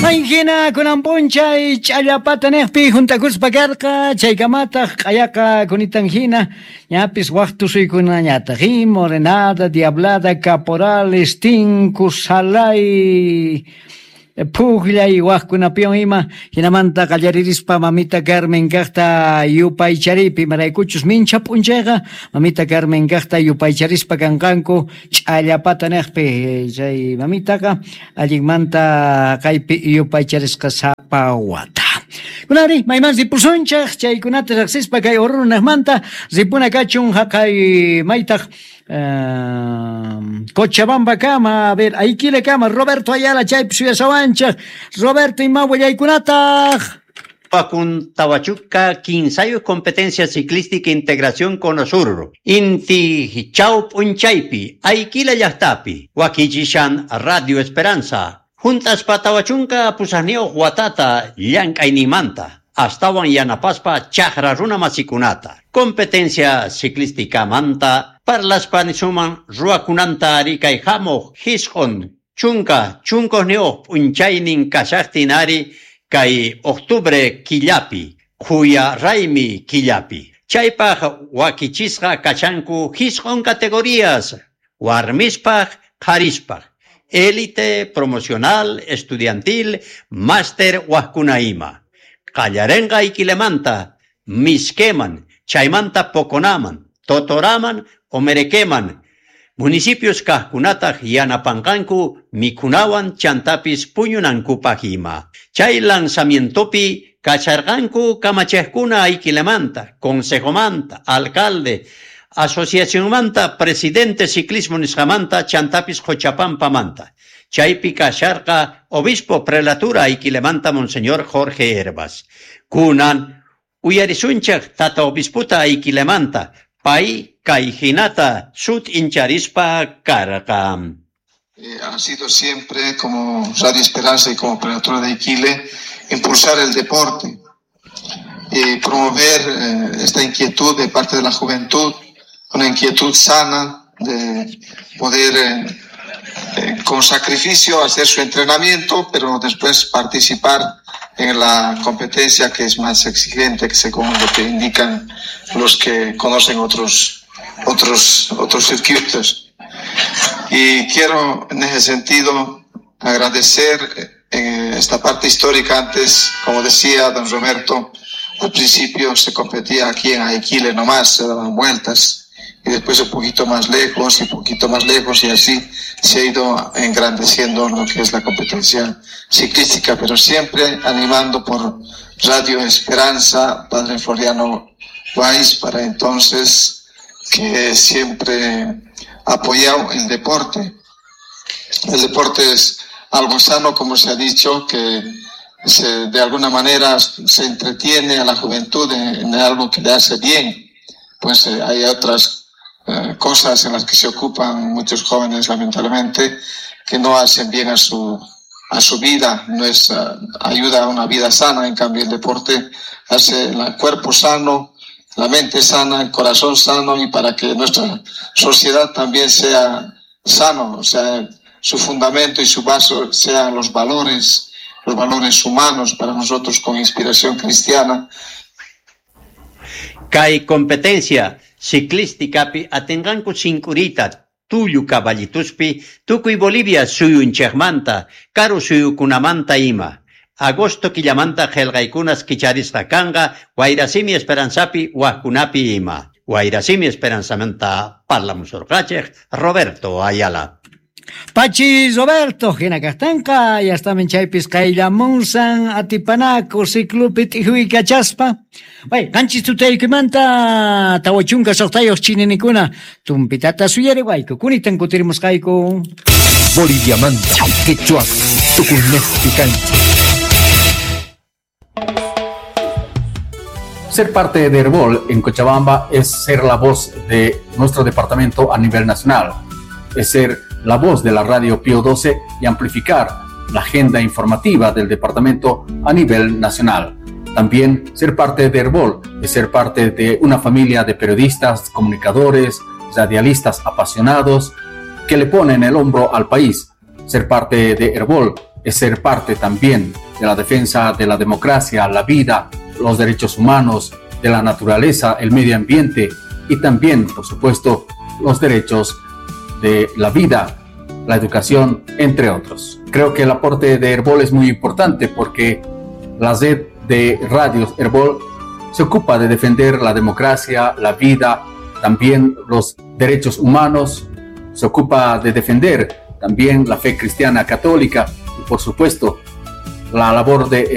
Maynjina kunan p'unchay ch'allapata niqpi juntakuspa karqa, chaykamataq q'ayaqa kunitan hina ñapis waq tusuykunañataq, morenada, diablada, caporales, tinku, salay, phukllay waqkunapiwan ima, hinamanta qallaririspa mamita Carmen kaqta yupaycharipi, imaraykuchus mincha p'unchayqa mamita Carmen kaqta yupaycharispa kanqanku ch'allapata niqpi, chay mamitaqa allinmanta kaypi yupaycharisqa sapa wata. Kunari mayman ripusunchej chaykunata riqsispa kay Oruro niqmanta ripuna kachun haqay maytaq Cochabamba kama, a ver, Aiquile kama, Roberto Ayala chaypi suyasawanchej. Roberto, ima willaykunataq? Kun Tawachuca, Quinsayo Competencia Ciclística Integración Conosur, Inti Chau Punchaypi, Aiquila Llaqtapi, Wakichishan Radio Esperanza, Juntas Patawachunka Pusanio Huatata, Llank'aynimanta, astawan yanapaspa chaqra runa masikunata. Competencia ciclística manta, parlaspa nisuman ruwakunanta ari kay hamuq hisq'un chunka chunkuqniyuq p'unchaynin kashaqtin ari kay octubre killapi, Quya Raymi killapi. Chaypaq wakichisqa kachanku hisq'un categorías, warmispaq, qharispaq, élite, promocional, estudiantil, máster waqkuna ima. Qallarenqa Iquilemanta, Misqueman, chaymanta Poconaman, Totoraman, Omerequeman, municipios kaqkunataq yanapanqanku mikhunawan chantapis puñunankupaq ima. Chay lanzamientopi kacharqanku kamachiqkuna Aiquilemanta, consejomanta, alcalde, asociacionmanta, presidente ciclismo nisqamanta, chantapis Qochapampamanta. Chaypi kasharqa obispo prelatura Aiquilemanta Monseñor Jorge Herbas. Kunan uyarisunchik tata obispota Aiquilemanta, pay kay hinata sut'incharispa karqa. Ha sido siempre, como Radio Esperanza y como Prelatura de Aiquile, impulsar el deporte y promover esta inquietud de parte de la juventud, una inquietud sana de poder con sacrificio hacer su entrenamiento, pero después participar en la competencia que es más exigente, que según lo que indican los que conocen otros circuitos. Y quiero en ese sentido agradecer esta parte histórica. Antes, como decía don Roberto, al principio se competía aquí en Aiquile nomás, se daban vueltas, y después un poquito más lejos y poquito más lejos, y así se ha ido engrandeciendo lo que es la competencia ciclística, pero siempre animando por Radio Esperanza, Padre Floriano Weiss, para entonces, que siempre apoyado el deporte. El deporte es algo sano, como se ha dicho, que de alguna manera se entretiene a la juventud en algo que le hace bien. Pues hay otras cosas en las que se ocupan muchos jóvenes, lamentablemente, que no hacen bien a su vida, no es ayuda a una vida sana. En cambio, el deporte hace el cuerpo sano, la mente sana, el corazón sano, y para que nuestra sociedad también sea sano, o sea, su fundamento y su base sean los valores humanos para nosotros con inspiración cristiana. Kay competencia ciclísticapi atinqanku sinkurita tullu caballituspi tukuy Bolivia suyunchikmanta, karu suyukunamanta ima. Agosto killamanta qillqaykunas kicharisqa kanqa Wayrasimi Esperanzapi waqkunapi ima. Wayrasimi Esperanzamanta parlamusurqachik Roberto Ayala. Pachi Roberto, hina kaqtanqa, yastamin chaypis qayllamunsan atipanaku ciclupi t'ijuykachaspa. Bay, qanchis tutaykimanta 46 chininikuna tumpitata suyariwayku, kunitan kutirimusqayku. Boliviamanta, quechua, tukuynejpi kanchik. Ser parte de Herbol en Cochabamba es ser la voz de nuestro departamento a nivel nacional, es ser la voz de la radio Pío 12 y amplificar la agenda informativa del departamento a nivel nacional. También ser parte de Herbol es ser parte de una familia de periodistas, comunicadores, radialistas apasionados que le ponen el hombro al país. Ser parte de Herbol es ser parte también de la defensa de la democracia, la vida, los derechos humanos, de la naturaleza, el medio ambiente y también, por supuesto, los derechos de la vida, la educación, entre otros. Creo que el aporte de Herbol es muy importante porque la red de radios Herbol se ocupa de defender la democracia, la vida, también los derechos humanos, se ocupa de defender también la fe cristiana católica y, por supuesto, la labor de